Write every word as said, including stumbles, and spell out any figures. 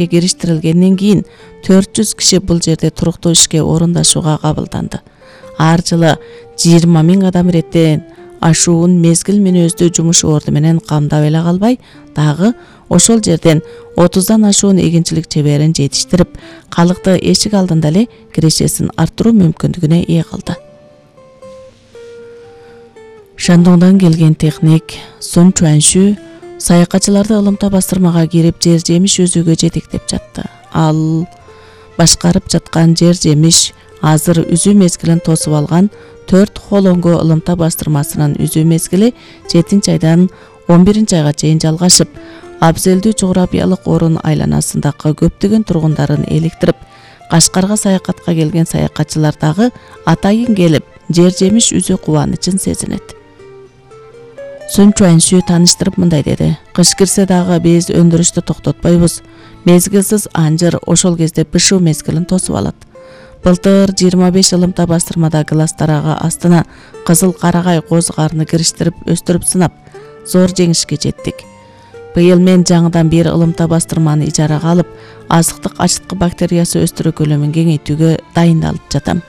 кириштирилгенден кийин төрт жүз киши бул жерде туруктуу ишке орундашууга кабылданды. Ар жылы жыйырма миң адам иреттен ашуун мезгил мүнөздүү жумуш орду менен камдап эле калбай, дагы ошол жерден отуздан ашуун эгинчилик чеберин жетиштирип, калыкты эшик алдында эле кирешесин арттыруу мүмкүндүгүнө ээ кылды. Шандоңдон келген техник Сун Чуаншу саякатчыларды ылымта бастырмага кирип жер жемиш өзүгө жетектеп жатты. Ал башкарып жаткан жер жемиш азыр үзүү мезгилин тосуп алган төрт холонго ылымта бастырмасынын үзүү мезгили жетинчи айдан он биринчи айга чейин жалгашып, абзелдүү жографиялык орун айланасындагы көптөгөн тургундарын эликтирип, Кашкарга саякатка келген саякатчылар дагы атайын келип, жер жемиш үзүү кубанычын сезинет. Сун Чуаншу тааныштырып мындай деди: "Кыш кирсе дагы биз өндүрүштү токтотпойбуз. Мезгилсиз анжыр ошол кезде бышуу мезгилин тосуп алат. Былтыр жыйырма беш ылымта бастырмада глаз тарагы астына кызыл карагай козгарны кириштирип өстүрүп сынап, зор жеңишке жеттик. Быйыл мен жаңыдан бир ылымта бастырманы ижарага алып, азыктык ачыткы бактериясы өстүрүү көлөмүн кеңейтүүгө дайындалып жатам.